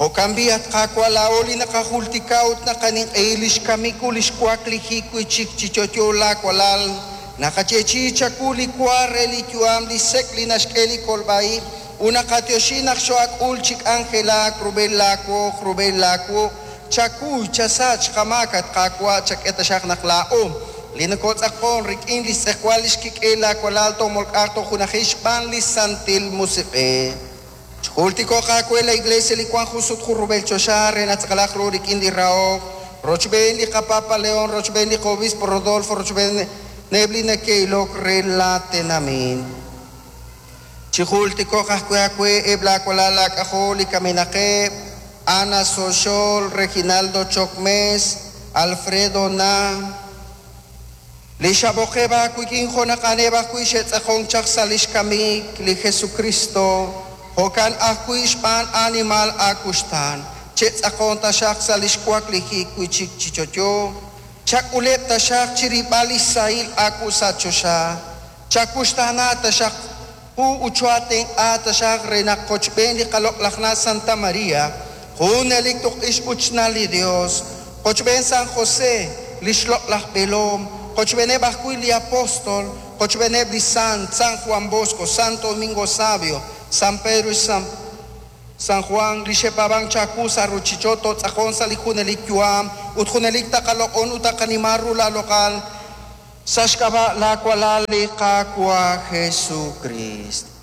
Jo'kan b'i', at Qaawa', laa'o li naqajultika ut naqaninq'ehi li xkamik ut li xwaklijik wi' chik chi yo'yo laawalal, naqayeechi'i chawu li wa re li yu'am, li sek' li naxk'e li kolb'a ib', ut naqatyoxi naq xoo'ak'ul chi k'anjelak rub'el laawoq, rub'el laawuq'. Chakuy, chasach qamaak, at Qaawa', chak'e taxaq naq laa'o li nokotz'aqon rik'in li xtz'ejwal li xkik'el laawalal toomolk'aq toojunajil xb'aan li Santil Musiq'ej. Chjultiko'q aawe la Iglesia li wank jun sut jun rub'el choxa re naq tz'aqalaq ru rik'in li rahok, rochb'een li qaPapa León, rochb'een li qobispo Rodolfo, rochb'eeneb' li neke'ilok re laatenamit. Chijultiko'q ajwi' aawe eb' laawalal laak'ajol li kamenaqeb', Ana Soxol, Reginaldo Chocmés, Alfredo Na, li xab'oqeb' aawik'in jo' naq a'aneb' ajwi' xe'tz'aqonk chaq sa' li xkamik li Jesucristo, jo'kan ajwi' xb'aan animal aakuxtaan, che'tz'aqon taxaq sa' li xwaklijik wi' chik chi yo'yo, chak'uleb' taxaq chirib'al li xsahil aawu sa' choxa, chakuxtaana taxaq qu ut cho'atenq'a taxaq re naq qochb'een li qaloq'laj na' Santa María, junelik tuq'ix ut xna' li Dios, qochb'een San José, li xloq'laj b'eelom, qochb'eeneb' ajwi' li apóstol, qochb'eeneb' li sant, San Juan Bosco, Santo Domingo Sabio, San Pedro y San Juan, li xe'paab'ank chawu sa' ruuchich'och' tootz'aqon sa' li junelik yu'am ut junelik taqaloq'on ut taqanima ru laaloq'al sa' xk'ab'a' laawalal li Qaawa' Jesucrist.